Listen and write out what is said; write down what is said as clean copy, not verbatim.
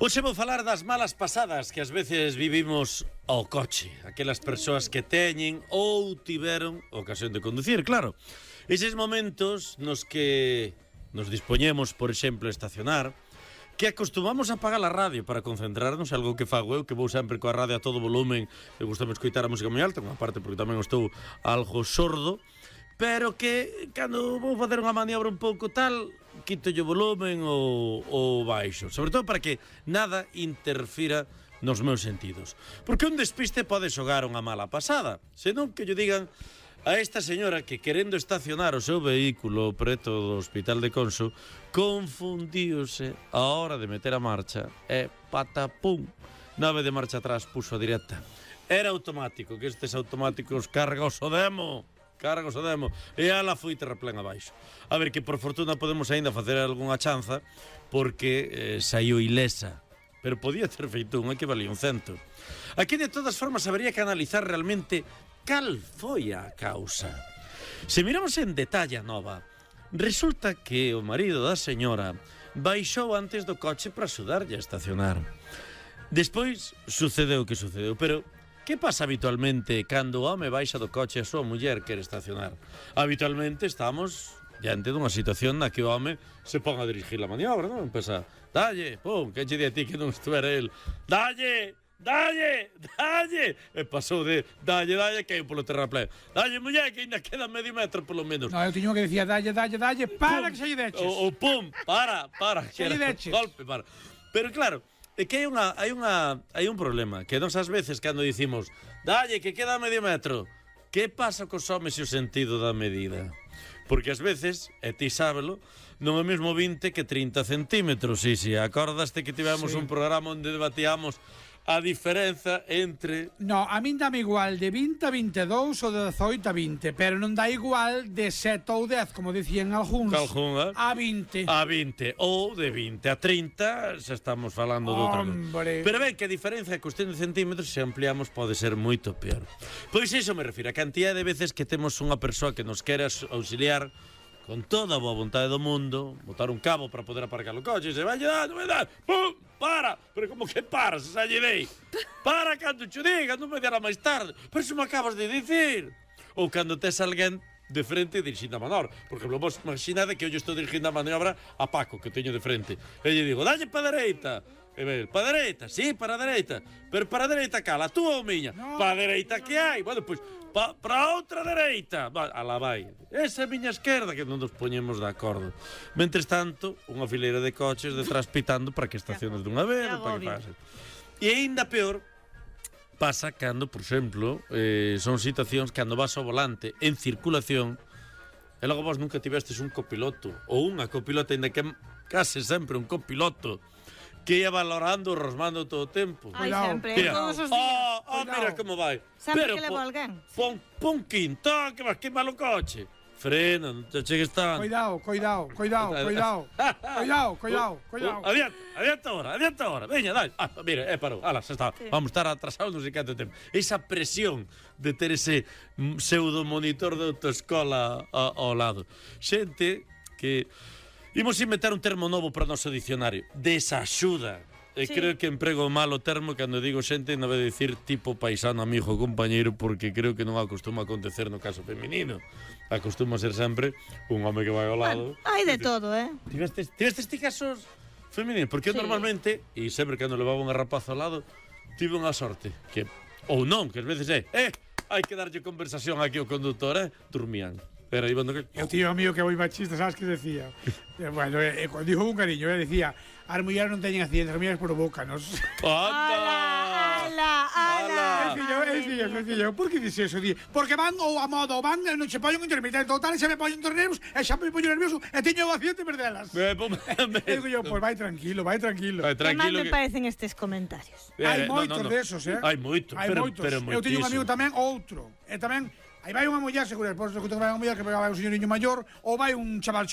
Hoxe vou falar das malas pasadas que ás veces vivimos ao coche. Aquelas persoas que teñen ou tiveron ocasión de conducir, claro. Eses momentos nos que nos dispoñemos, por exemplo, a estacionar, que acostumamos a apagar a radio para concentrarnos, algo que fago eu, que vou sempre coa radio a todo volumen, e gustame escoitar a música moi alta, unha parte porque tamén estou algo sordo, pero que cando vou facer unha maniobra un pouco tal, quito o volumen ou baixo, sobre todo para que nada interfira nos meus sentidos. Porque un despiste pode xogar unha mala pasada, senón que lle digan a esta señora que querendo estacionar o seu vehículo preto do Hospital de Conso confundíose a hora de meter a marcha e patapum, nave de marcha atrás puso a directa. Era automático, que estes automáticos cargos o demo, e ala foi terraplén abaixo. A ver, que por fortuna podemos aínda facer algunha chanza porque saiu ilesa, pero podía ter feito unha que valía un cento. Aquí de todas formas habería que analizar realmente cal foi a causa. Se miramos en detalle a nova, resulta que o marido da señora baixou antes do coche para axudarlle a estacionar. Despois sucedeu o que sucedeu, pero que pasa habitualmente cando o home baixa do coche e a súa muller quere estacionar? Habitualmente estamos diante dunha situación na que o home se pon a dirigir a maniobra, non? Empeza, dalle, pum, que che di a ti que non estuvera el, dalle, e pasou de dalle, que é polo terraplén, dalle, muller, que ainda queda medio metro polo menos. No, eu tiño que decía dalle, para pum, que se lle deches. O pum, para, se lle deches. Golpe, para. Pero claro, é que hai un problema, que nós ás veces cando dicimos dalle, que queda medio metro, que pasa cos homes e o sentido da medida? Porque ás veces, e ti sábelo, non é mesmo 20 que 30 centímetros. Si, acordaste que tivemos un programa onde debatíamos a diferenza entre... No, a min dame igual de 20 a 22 ou de 18 a 20, pero non dá igual de 7 ou 10, como dicían algúns, a 20. A 20, ou de 20 a 30, xa estamos falando de outra cosa. Pero ben, que a diferenza é cuestión de centímetros, se ampliamos, pode ser moito peor. Pois iso me refiro, a cantidad de veces que temos unha persoa que nos quere auxiliar con toda a boa vontade do mundo, botar un cabo para poder aparcar o coche, e se vai dar, pum, para, pero como que para, se xa lle dei, para cando te diga, non me dirá máis tarde, pero se me acabas de dicir, ou cando tes alguén de frente dirixindo a manobra, porque vos imaginade que eu estou dirixindo a maniobra a Paco, que teño de frente, e lle digo, dalle pa dereita, e ve, pa dereita, sí, para a dereita, pero para a dereita cala, tú ou miña, pa a dereita que hai, bueno, pois, para outra dereita, ala vai, esa é a miña esquerda, que non nos poñemos de acordo. Mentres tanto, unha fileira de coches detrás pitando para que estaciones dunha vez, para que pase. E aínda peor pasa cando, por exemplo, son situacións cando vas ao volante en circulación e logo vos nunca tivestes un copiloto ou unha copilota, ainda que case sempre un copiloto que ia valorando, rosmando todo o tempo. Ai, sempre, todos os días. Mira como vai. Sempre que levo alguén. Pon quinto, que vas queimar o coche. Frena, non te chegues tanto. Cuidado. Adianta ahora. Veña, dai. Mira, parou. Ala, xa está. Sí. Vamos estar atrasados non sei canto tempo. Esa presión de ter ese pseudo monitor de autoescola ao lado. Xente que... Imos inventar un termo novo para o noso dicionario. Desaxuda. E creo que emprego mal o termo cando digo xente, non vai dicir tipo paisano, amigo, compañeiro, porque creo que non acostuma a acontecer no caso feminino. Acostuma a ser sempre un home que vai ao lado. Hai de todo, Tivestes ti casos femininos? Porque eu normalmente, e sempre cando levaba unha rapaza ao lado, tive unha sorte. Que, ou non, que ás veces hai que darlle conversación aquí ao conductor, dormían. Pero aí que... Eu tío amigo que é moi machista, sabes que decía? Bueno, cando dijo un cariño, decía, as mulleres non teñen accidentes, as mulleres provócanos. ¡Hala! Fillo, por que dices eso? Porque van ou a modo, van, non se poñen intermitente, ou tal, e se me poñen nerviosos, e xa me poño nervioso, e teño o accidente perdelas. Digo yo, pues vai tranquilo. Que mal me parecen estes comentarios. Hai moitos desos, Hai moitos, pero moitísimo. Eu teño un amigo tamén, outro, e tamén... Aí vai unha muller, seguro, por que vai unha muller que vai un señoriño maior, ou vai un chaval xoven